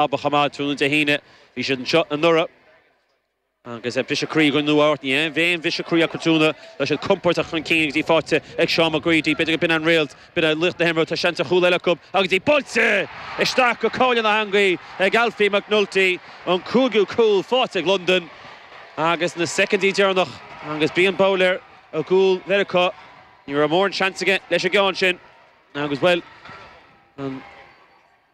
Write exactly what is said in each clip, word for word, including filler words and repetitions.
Chomh maith tráthnóna Dé hAoine, bhí siad anseo anuraidh agus briseadh croí do Nua-Eabhrac. Ní aon bhriseadh croí acu tráthnóna, tá siad compordach chun cinn agus í faighte ag Sean McGready. B'fhéidir go b'in an réalt, b'in é laoch na himeartha. Tá seans ar chúl eile acu agus í buailte isteach go cáile na heangaí ag Alfie McNulty, an cúigiú cúl faighte ag Londain agus na soicindí deireanach agus Brian Bowler i gcúl Mheiriceá. Ní raibh mórán seans aige leis an gceann sin agus, bhuel, an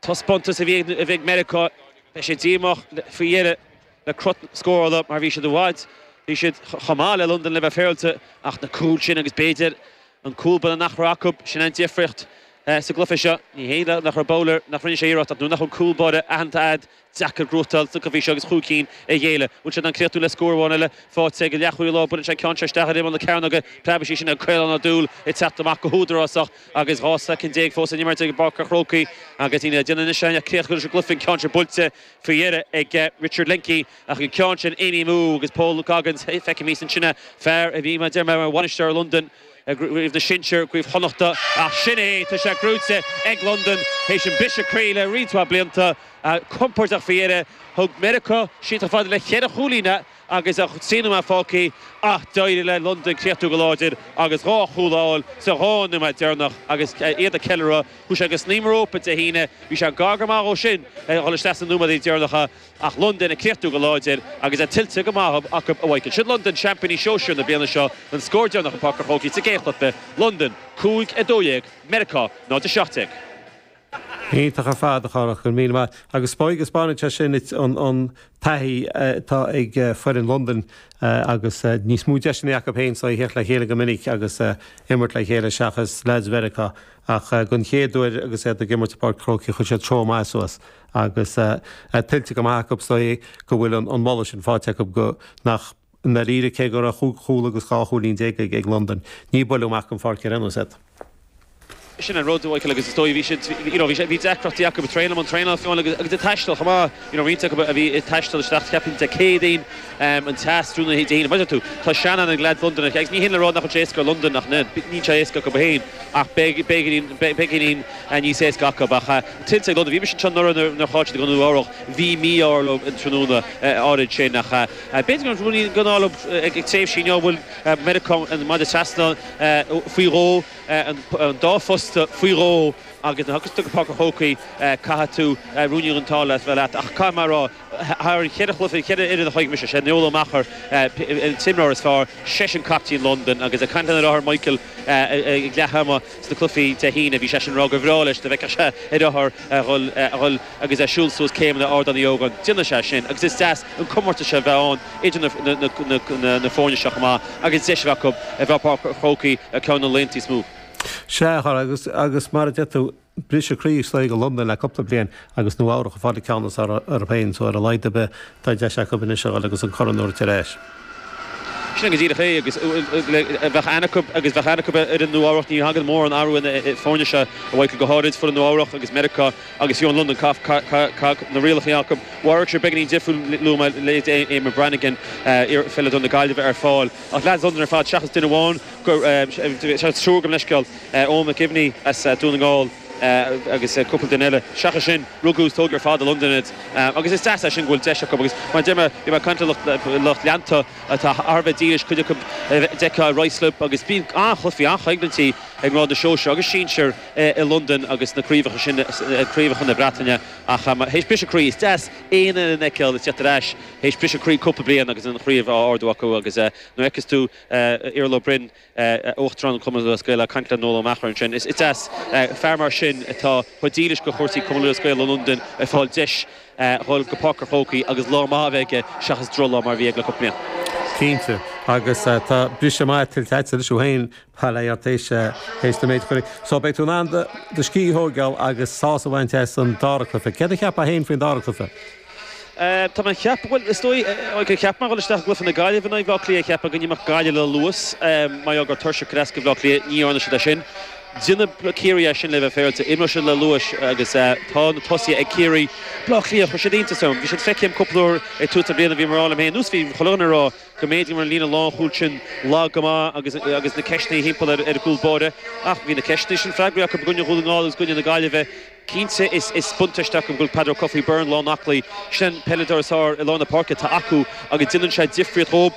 taispeántas a bhí ag Meiriceá, beidh sé díomách faoi dheireadh le cruth scórála mar bhí siad i bhfad, bhí siad chomh maith le Londain le bheith féaráilte ach na cúil sin agus b'fhéidir an cúl buille nach raibh acu, sin an difríocht sa gcluiche seo. Ní hé nach raibh Bowler, nach rinne sé iarracht ach nuair nach bhfuil cúl báire aitheanta agat, deacair gnóthachtáil sna cluichí seo agus chúig cinn a ghéilleadh. Bhfuil siad in ann críochnú le scór amháin eile faighte ag leathchúlaí láir, buaileann sé an ceann seo isteach ar imeall na cearnóige, preabfaidh sí sin an Caolán Ó Dúill ag teacht amach go húdarásach agus dhá soicind déag fós in imirt ag Páirc an Chrócaigh agus iad ag déanamh anois ach críochnú leis an gcluiche, an ceann seo buailte faoi dheireadh ag Richard Lenkey ach an ceann sin imithe amú agus Paul Goggins, feicim thíos ansin fear a bhí mar deir mé mar bhainisteoir Londain i gcraobh na sinsear, Craobh Chonnachta, ach sin é, tá sé gnóite ag Londain théis an briseadh croí le roinnt mhaith blianta. Compordach faoi dheireadh, thug Meiriceá siad chomh fada le ceithre chúilín agus trí nóiméad fágtha ach d'éirigh le Londain críochnú go láidir agus dhá chúl a fháil sa dhá nóiméad deireanach agus iad ag ceiliúradh. Chuaigh sé go snaidhm rópa Dé hAoine, bhí sé gar go maith dhó sin a dhul isteach sna nóiméadaí deireanacha ach Londain ag críochnú go láidir agus é tuillte go maith acu a Mhichael. Siad Londain seaimpíní sóisir na bliana seo, an scór deireanach i bPáirc an Chrócaigh sa gcéad chluiche, Londain cúig a dó dhéag, Meiriceá náid a seacht déag. Iontach ar fad, a Chárthach, go raibh míle maith. Agus spáineann sé sin duit an taithí atá ag foireann Londain agus níos mó deiseanna acu féin so a theacht le chéile go minic agus imirt le chéile seachas leaids Mheiriceá. Ach don chéad uair agus iad ag imirt i bPáirc an Chrócaigh chuir siad treo maith suas agus tuillte go maith acu so go bhfuil an moladh sin faighte acu go nach i ndáiríre cé go raibh chúig chúl agus dhá chúilín déag ag Londain ní buaileadh amach den pháirc ar aon nós iad. Sin an rud, Michael, agus is dóigh bhí siad, you know, bhí sé, bhí deacrachtaí acu ag traenáil, an traenáil fiú agus agus ag taisteal chomh maith, you know, roinnt acu a bhí ag taisteal isteach cheapfainn Dé Céadaoin, um, an teas tráthnóna Dé hAoine. Mar tú, tá seanaithne ag leaids Londain agus ní hin le rá nach bhfuil sé éasca ar Londain ach níl sé éasca acu féin ach beagáinín beagáinín níos éasca acu ach uh, tuillte ag Londain. Bhí mise anseo nuair nuair chaill siad go Nua-Eabhrac, bhí mí-ádh leo an tráthnóna áirid sin ach uh, b'fhéidir go bhfuil go ag ag tréimhsí inniu bhfuil Meiriceá an maide trasna faoi dhó an dá phosta faoi dhó agus na agus go Páirc an Chrócaigh caithfidh tú ruainne den t-ádh le bheith leat ach caithfidh mé a rá thar an cheithre chluiche ceithre fhoireann a chonaic mise sé Noel Ó Meachair an t-imreoir is fearr seisean captaen Londain agus ag caint lena athair Michael ag leath ama sna cluichí Dé hAoine bhí seisean ag rá gur bhreá leis dá bhfeicfeadh sé a dheartháir a dhul a dhul agus é siúl suas céimeanna Ardán Uí Ógáin déanfaidh sé sin agus is deas an comórtas seo bheith ann idir na na na na foirne seo chomh maith agus deis a bheith acu a bheith Páirc an Chrócaigh ceann na laethanta is mó. Sea agus agus mar a deir tú briseadh croí istigh i Londain le cúpla bliain agus Nua-Eabhrac ag fáil an ceann is fearr orthu féin so ar a laghad ar bith tá deis acu anois a dhul agus an corn a thabhairt ar ais. Sin go díreach é agus bheadh aithne acu agus bheadh aithne acu ar an Nua-Eabhrac ní thagann mórán athrú ina foirne seo a Mhichael go háirid foireann Nua-Eabhrac agus Meiriceá agus fiú an London na rialacha acu. Mhairg sé beagáinín difriúil luaigh mé le Eamon Brannigan pheileadóir na Gaillimhe ar fáil ach leaids Londain ar fad seachas duine amháin seachas triúr gabh mo leithscéal Eoin McGivney as Dún na nGall agus cúpla duine eile. Seachas sin rugadh is tógadh ar fad i Londain iad agus is deas é sin go bhfuil deis acu agus mar deir mé bhí mé ag caint le lucht leanta atá thar a bheith dílis cuid acu d'fheicfeá i Ruislip agus bíonn an-chluichí an-choimhlintí ag ngrád na sóisear agus sinsir i Londain agus na craobhacha sin craobhacha na Breataine ach théis briseadh croí is deas aon fhoireann a fheiceáil ag teacht ar ais théis briseadh croí cúpla bliain agus an chraobh á ardú acu agus nuair a fheiceas tú Iarla Ó Broin Uachtarán an Chumann Lúthchleas Gael ag caint le Noel Ó Meachair ansin is deas fear mar sin atá chomh dílis do chúrsaí Cumann Lúthchleas Gael i Londain ag fáil deis dhul go Páirc an Chrócaigh agus lá maith a bheith aige seachas drochlá mar a bhí aige le cúpla bliain. Cinnte, agus tá briseadh maith tuillte agat anois thú féin bail ó Dhia ort théis théis na méid chuir. So beidh tú in ann do scíth a thógáil agus sásamh a bhaint as an dara cluiche. Céard a cheapfá féin faoin dara cluiche? Tá mé ag ceapadh, bhuel is dóigh, cheap mé dhul isteach i gcluiche na Gaillimhe in aghaidh Bhaile Átha Cliath, cheap mé go n-imeodh Gaillimh le luas mar gheall gur tuirseach go deasca Bhaile Átha Cliath, ní dhearna siad é sin. Déanfaidh Ciarraí é sin le bheith féaráilte, imreoidh siad le luas agus tá na tosaithe ag Ciarraí. Baile Átha Cliath, chuir siad iontas orm. Bhí siad feicthe agam cúpla uair ag tús na bliana, bhí mé ag rá liom féin, nós bhí chuile dhuine ag rá go mb'fhéidir go raibh an líne lánchúil sin lag go maith agus agus na ceisteanna thimpeall ar ar an gcúl báire ach bhí na ceisteanna sin freagraithe acu i gcoinne Dhún na nGall agus i gcoinne na Gaillimhe. Cinnte is is buntáiste acu go bhfuil Peadar Ó Cofaigh Byrne lán aclaí, sin peileadóir is fearr i lár na páirce atá acu agus déanann sé difríocht dhóibh.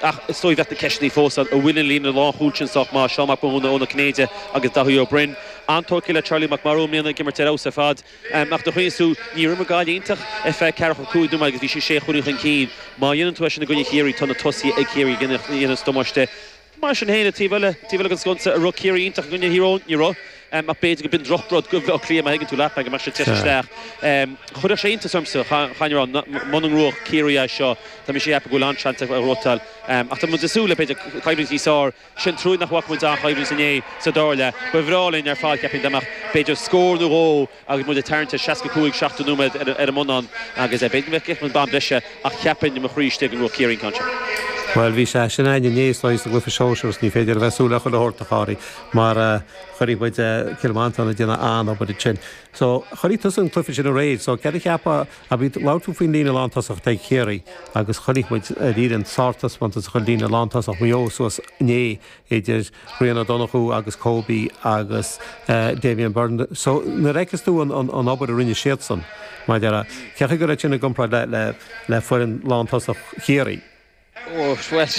Ach is dóigh bheadh na ceisteanna fós ann, an bhfuil an líne lánchúil sin sách maith, Seán Mac Mathúna, Eoin Ó Cinnéide agus Daithí Ó Broin. An-tógtha le Charlie Mac Murrough i mbliana ag imirt ar fheabhas ar fad. Ach do chuimhnigh tú, níor imir Gaillimh iontach ar feadh ceathracha cúig nóiméad agus bhí siad sé chúilín chun cinn. Má dhéanann tú é sin i gcoinne Chiarraí, tá na tosaithe ag Ciarraí ag déanamh damáiste. Mar sin féin, taobh eile, taobh eile den sconsa, an raibh Ciarraí iontach i gcoinne Thír Eoghain? Ní raibh. Ach b'fhéidir go b'in drochrud do Bhaile Átha Cliath, má thuigeann tú leat mé, go mbeadh siad ag teacht isteach. Chuirfeadh sé iontas ormsa, chaithfinn a rá, muna ngnóthódh Ciarraí é seo. Tá mise ag ceapadh go bhfuil an-seans acu a ghnóthachtáil. Ach tá muid ag súil le, b'fhéidir, coimhlint níos fearr. Sin trua nach bhfaca muid an-choimhlint inné sa dara leath. Ba bhreá linn ar fad, cheapfainn, dá mbeadh, b'fhéidir, scór nó dhó agus muid ag tarraingt ar seasca cúig, seachtó nóiméad ar an mbonnán agus b'fhéidir go mbeadh an bonn breise ach cheapfainn i mo chroí istigh go ngnóthódh Ciarraí an ceann seo. Bhuel, bhí sé sin againn inné sa gcluiche sóisir is ní féidir a bheith ag súil le chuile shórt, a Chárthaigh, mar chonaic muid Cill Mhantáin ag déanamh an-obair ansin. So, chonaic tusa an cluiche sin aréir, so céard a cheapfá, labhair tú faoin líne lántosach ag Ciarraí agus chonaic muid arís an sártaispeántas a chuir líne lántosach Mhaigh Eo suas inné idir Rian Ó Donnchú agus Kobe agus Damien Byrne. So, nuair a fheiceas tú an obair a rinne siadsan, maidir le, cén chaoi go raibh sin i gcomparáid le le foireann lántosach Chiarraí? Ó, bhuel,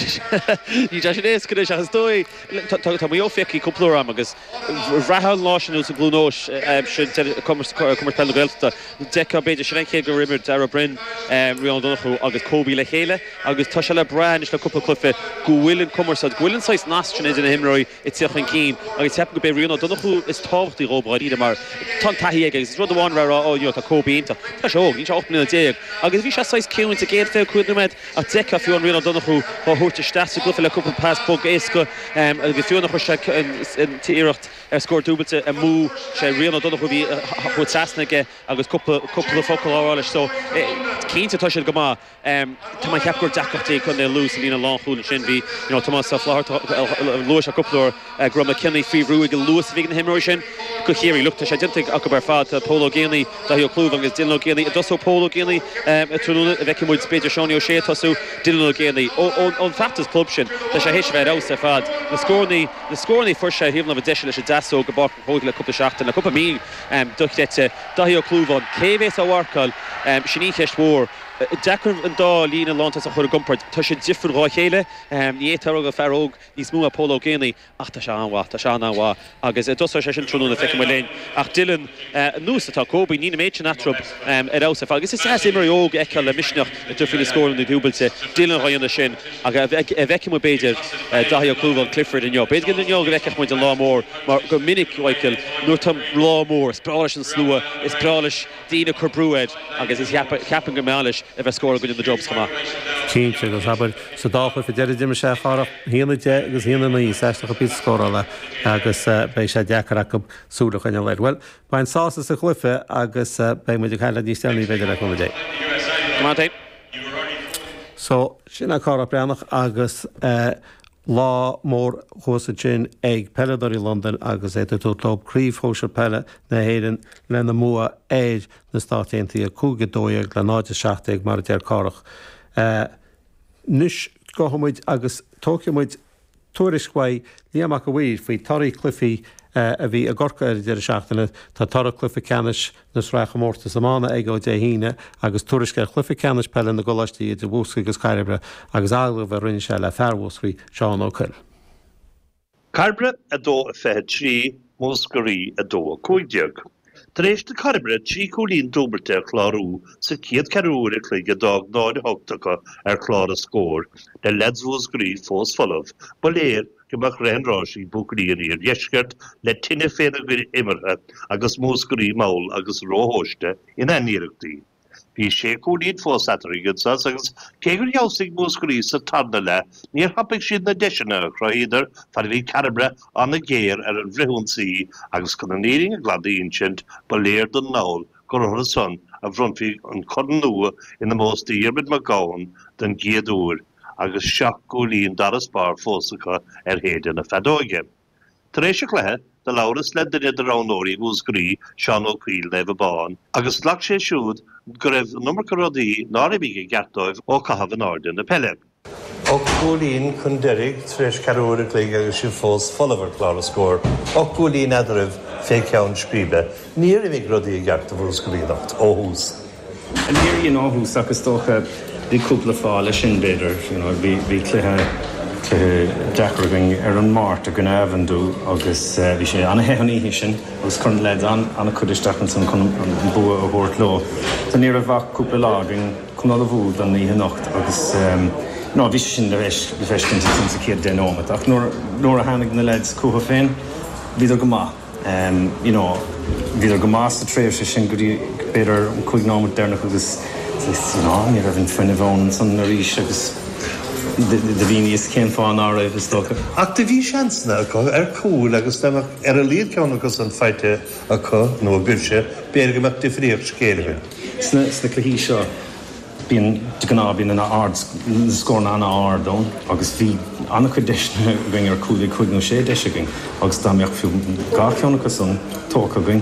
ní deis an éasca anois ach is dóigh, tá Maigh Eo feicthe cúpla uair agam agus bhraithfeá an lá sin sa gCluain Eois sin Comórtas Peile na Gaeltachta, d'fheicfeá b'fhéidir sin an chéad gur imir Darragh Broin, Rian Ó Donnchú agus Kobe le chéile agus tá sé le brath anois le cúpla cluiche go bhfuil an cumarsáid, go bhfuil an saghas nasc sin idir na himreoirí ag teacht chun cinn agus ceapaim go b'é Rian Ó Donnchú is tábhachtaí dhóibh dháiríre mar tá an taithí aige agus is rud amháin a bheith ag rá oh you know tá Kobe iontach, tá sé óg, níl sé ocht mbliana déag agus bhí sé saghas ciúin sa gcéad fiche cúig nóiméad ach d'fheicfeá fiú an Rian Ó Donnchú á thabhairt isteach sa gcluiche le cúpla pas bog éasca agus fiú nuair a chuir sé an t-iarracht ar scór dúbailte amú sé Rian Ó Donnchú a bhí chuaigh trasna aige agus cúpla cúpla focal á rá leis so cinnte tá siad go maith. Tá mé ag ceapadh gur deacrachtaí ag Contae Lú sa líne lánchúil ansin bhí you know Tomás Ó Flatharta luaigh sé cúpla uair go raibh McKinney faoi bhrú ag an luas a bhí ag na himreoirí sin. Do Chiarraí. Look, tá sé déanta acu ar fad. Tá Pól Ó Géibheannaigh, Daithí Ó Clúmháin agus Dylan Ó Géibheannaigh. An dtosóidh Pól Ó Géibheannaigh tráthnóna, an bhfeicfidh muid b'fhéidir Seánie Ó Sé ag tosú, Dylan Ó Géibheannaigh. Ón bhfeachtas club sin, tá sé théis a bheith ar fheabhas ar fad. Na scórannaí, na scórannaí a fuair sé ar thaobh na láimhe deise leis an deasóg i bPáirc an Chrócaigh le cúpla seachtain, le cúpla mí, dochreidte. Daithí Ó Clúmháin, cé a bhéas á mharcáil? Sin í an cheist mhór. Deacair an dá líne lántosach a chur i gcomparáid. Tá siad difriúil dhá chéile. Ní fhéadfá a rá gur fear óg níos mó é Pól Ó Géibheannaigh ach tá sé an-mhaith, tá sé an-an-mhaith agus an dtosóidh sé sin tráthnóna, feicfidh muid linn. Ach Dylan, an nós atá Kobe, níl an méid sin eatarthu ar fheabhas ar fad agus is deas imreoirí óg a fheiceáil le misneach ag tabhairt faoi na scóranna dúbailte. Dylan dhá dhéanamh sin ach an bhfeicfidh muid b'fhéidir Daithí Ó Clúmháin, Clifford inniu. B'fhéidir gur inniu go bhfeicfeadh muid an lá mór mar go minic, Michael, nuair atá lá mór, is breá leis an slua, is breá leis daoine ag cur brú air agus is cheapfainn go mbeadh leis a bheith ag scóráil i gcoinne na Dubs chomh maith. Cinnte, agus abair, sa dá chluiche deiridh d'imir sé a Chárthach, a haon a deich agus a haon a naoi, is aisteach an píosa scórála agus beidh sé deacair acu súil a choinneáil air. Bhuel, bain sásamh as an gcluiche agus beidh muid ag caint leat níos deireanaí b'fhéidir le cúnamh Dé. Go maith é. So, sin é Cárthach Breathnach agus lá mór thuas ansin ag peileadóirí Londain agus iad ag tabhairt leo Craobh Shóisir Peile na hÉireann lena mbua ar na Stáit Aontaithe, cúig a dó dhéag le náid a seacht déag mar a deir Cárthach. Anois gabhfaidh muid agus tógfaidh muid tuairisc uaidh Liam Mac a' Mhaoir faoi torthaí cluichí a bhí i gCorcaigh ar an deireadh seachtaine. Tá toradh cluiche ceannais na Sraithchomórtas Iomána aige ó Dé hAoine agus tuairisc ar chluiche ceannais peile na gcoláistí idir Mhúscraí agus Cairbre agus agallamh a rinne sé le fear Mhúscraí, Seán Ó Coill. Cairbre a dó a fiche trí, Múscraí a dó a cúig déag. Tar éis do Cairbre trí chúilín dúbailte a chlárú sa chéad cheathrú uair a chloig a d'fhág náid a hocht acu ar chlár an scóir, le leaids Mhúscraí fós folamh, ba léir go mbeadh rith an ráis ag buachaillí an iardheiscirt le tine féna gcuid imeartha agus Múscraí mall agus róthomhaiste ina n-iarrachtaí. Bhí sé chúilín fós eatarthu ag sos agus cé gur fheabhsaigh Múscraí sa tarna leath níor thapaigh siad na deiseanna a chruthaíodar fad a bhí Cairbre an-ghéar ar an bhfrithionsaí agus chun an fhírinne ghlan a insint ba léir don ndall gur orthu san a bhronnfaí an corn nua in ómós do Dhiarmuid Mac Gabhann den gcéad uair agus seacht gcúilín d'fharasbarr fós acu ar thaoide na feadóige. Tar éis an chluiche, do labhras le duine de roghnóirí Mhúscraí, Seán Ó Cuill, Naomh Abán, agus ghlac sé siúd go raibh an iomarca rudaí nár imigh i gceart dóibh ó chaitheamh in airde na peile. Ocht gcúilín chun deiridh tar éis ceathrú uair a chloig agus sibh fós folamh ar chlár an scóir. Ocht gcúilín eadraibh fé cheann scríbe. Níor imigh rudaí i gceart do Mhúscraí anocht ó thús. Níor in ó thús agus dócha bhí cúpla fáth leis sin b'fhéidir you know, bhí bhí cluiche cluiche deacair againn ar an Máirt i gcoinne Avondhu agus uh, bhí sé an-te an oíche sin agus chuir na lads an an-chuid isteach ansan chun an bua a thabhairt leo. So ní raibh ach cúpla lá againn chun ullmhú don oíche anocht agus um, no, bhí sin le le feiscint sin sa chéad deich nóiméad ach nuair a tháinig na lads chucu féin bhíodar go maith. Um, you know, bhíodar go maith sa tréimhse sin go dtí b'fhéidir an cúig nóiméad deireanach agus you know, ní raibh an fuinneamh ann san arís agus do bhíos cén fáth ná raibh is dócha. Ach do bhí seansanna acu ar cúl agus ar a laghad ceann acu san faighte acu nó agaibhse b'fhéidir go mbeadh difríocht scéil againn. Sna sna cluichí seo bíonn de ghnáth bíonn an ard scór an-ard ann agus bhí an-chuid deiseanna againn ar cúl cúig nó sé deis againn agus dá mbeadh fiú dhá cheann acu san tógtha againn.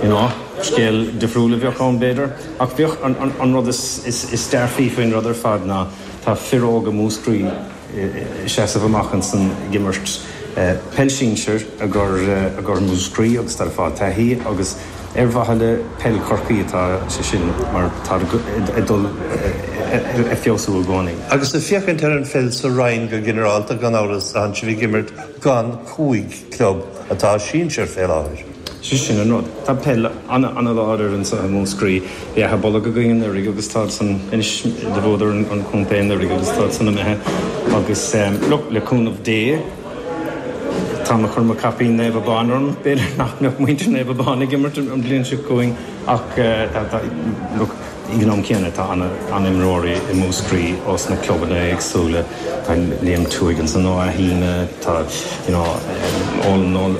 You know, scéal difriúil a bheadh ann b'fhéidir ach bheadh an, an, an rud is, is, is dearfaí faoin rud ar fad ná tá fir óga Mhúscraí seasamh amach ansan ag imirt peil sinsir i gcomhair Mhúscraí agus tá fáil taithí agus ar mhaithe le peil Chorcaí atá sé sin mar tá ag dul ag feabhsú i gcónaí. Agus ag féachaint ar an pheil sa Roinn go ginearálta gan amhras tá sibh ag imirt gan cúig club atá sinsir fé láthair. Sé sin an rud. Tá peil an-láidir anseo i Múscraí bhí Áth Bolg againn anuraidh agus tá san inis de bhódar an chontae anuraidh agus tá san imithe agus look, le cúnamh Dé tá mé chun mo chaipín Naomh Abán orm b'fhéidir nach mbeadh muintir Naomh Abán ag imirt an bhliain seo chugainn ach look, ag an am céanna tá an-imreoirí i Múscraí ós na clubanna éagsúla tá Liam Tuig ansan ó Athína tá you know, Ó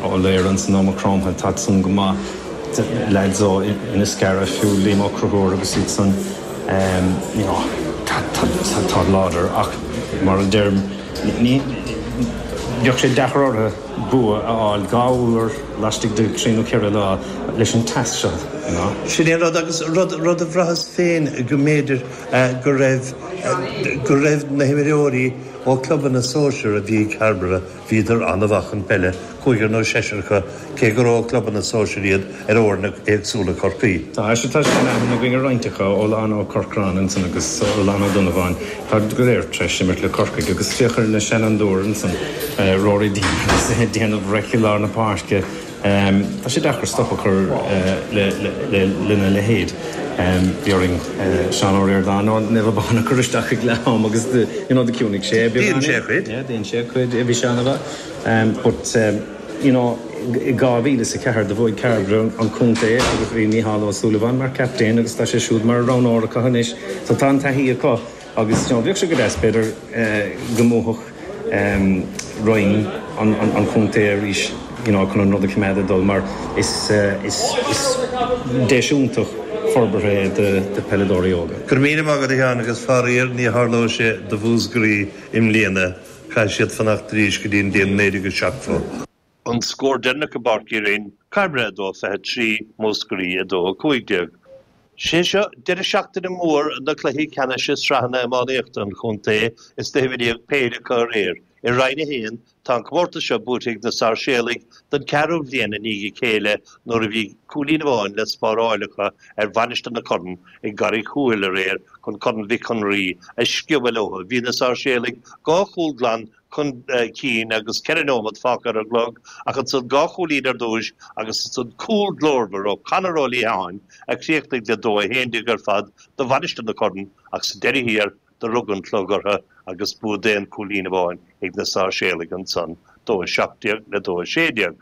Ó Léir ansan ó Cromtha tá san go maith lads ó Inniscarra fiú Liam Ó Conchúir agus iad san um, you know, tá tá láidir ach mar a deirim ní bheadh sé deacair orthu bua a fháil dhá uair laistigh de trí nó ceithre lá leis an teas seo. You know? Sin é rud agus rud rud a bhraitheas féin go mb'fhéidir go raibh go raibh na himreoirí ó clubanna sóisir a bhí Cairbre bhíodar an-mhaith chun peile, cúigear nó seisear acu cé gur ó clubanna sóisir iad ar fhoirne éagsúla Chorcaí. Tá sé tá sé go ar roinntecha ó Lán Ó Corcráin ansan agus ó Lán Ó Donnabháin Tá go léir tar éis imirt le Corcaigh agus féach ar na seanfhondúir ansan Rory Dean agus déanamh reic lár na páirce. Tá sé deacair stop a chur lena leithéid. Bhí orainn Seán Ó Ríordáin ó Naomh Abán a chur isteach ag leath am agus you know, chiúnaigh sé Dhein sé cuid. Dhein sé cuid bhí sé an-mhaith. But you know, dhá mhíle is a ceathair do bhuaigh Cairbre an contae agus bhí Mícheál Ó Súilleabháin mar captaen agus tá sé siúd mar roghnóir acu anois, so tá an taithí acu agus you know, bheadh sé go deas b'fhéidir go mbuafadh um, roinn an, an, an chontae arís you know, chun an rud a choimeád ag dul mar is, uh, is, is deis iontach forbartha de, de peileadóirí óga. Gur míle maith agat a Sheáin agus faraor ní tharlóidh sé do Mhúscraí i mbliana caithfidh siad fanacht arís go dtí an bhliain naoi déag seachtó. An scór deireanach i bPáirc Uí Rinn, Cairbre a dó fiche trí, Múscraí a dó a cúig déag. Sé seo deireadh seachtaine mór na cluichí ceannais i sraitheanna iománaíochta an chontae is na huimhir déag péire acu aréir. I Roinn a haon, tá an comórtas seo buaite ag na Sáirséalaigh don ceathrú bhliain i ndiaidh a chéile nuair a bhí cúilín amháin le spáráil acu ar Mhainistir na Corann i gCarraig Thuathail aréir chun Corn Mhic an Rí a sciobadh leo. Bhí na Sáirséalaigh dhá chúl glan chun cinn agus ceithre nóiméad fágtha ar an gclog ach ansan dhá chúilín ar dtús agus ansan cúl glórmhar ó Conor Ó Liatháin a chríochnaigh le dó a haon déag ar fad do Mhainistir na Corann ach sa deireadh thiar do rug an clog orthu agus bua d'aon chúilín amháin ag na Sáirséalaigh ansan, dó a seacht déag le dó a sé déag.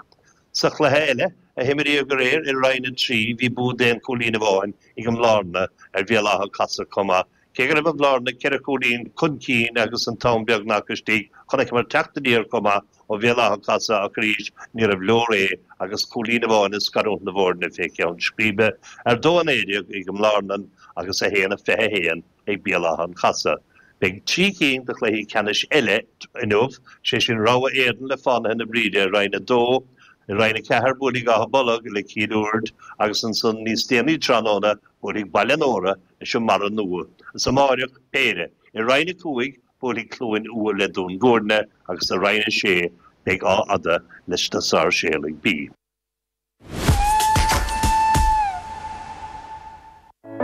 Sa chluiche eile a himríodh aréir i Roinn a trí bhí bua d'aon chúilín amháin ag an mBlárna ar Bhéal Átha Casadh chomh maith. Cé go raibh an Bhlárna ceithre chúilín chun cinn agus an t-am beagnach istigh, chonaiceamar teacht aniar chomh maith ó Bhéal Átha Casadh ach arís níorbh leor é agus cúilín amháin ag scarúint na bhfoirne fé cheann scríbe ar dó a naoi déag ag an mBlárna agus a haon a fiche a haon ag Béal Átha an Chasadh. Beidh trí cinn de chluichí ceannais eile inniu, sé sin Rogha Éadan le Fánaithe na Bríde i Roinn a dó, i Roinn a ceathair buailfidh Áth Bolg le Cill Uird agus ansan níos déanaí tráthnóna buailfidh Baile an Óra leis an mBarra Nua. Is amáireach péire. I Roinn a cúig buailfidh Cluain Umhaill le Dún Gúirne agus i Roinn a Sé beidh Áth Fhada leis na Sáirséalaigh B.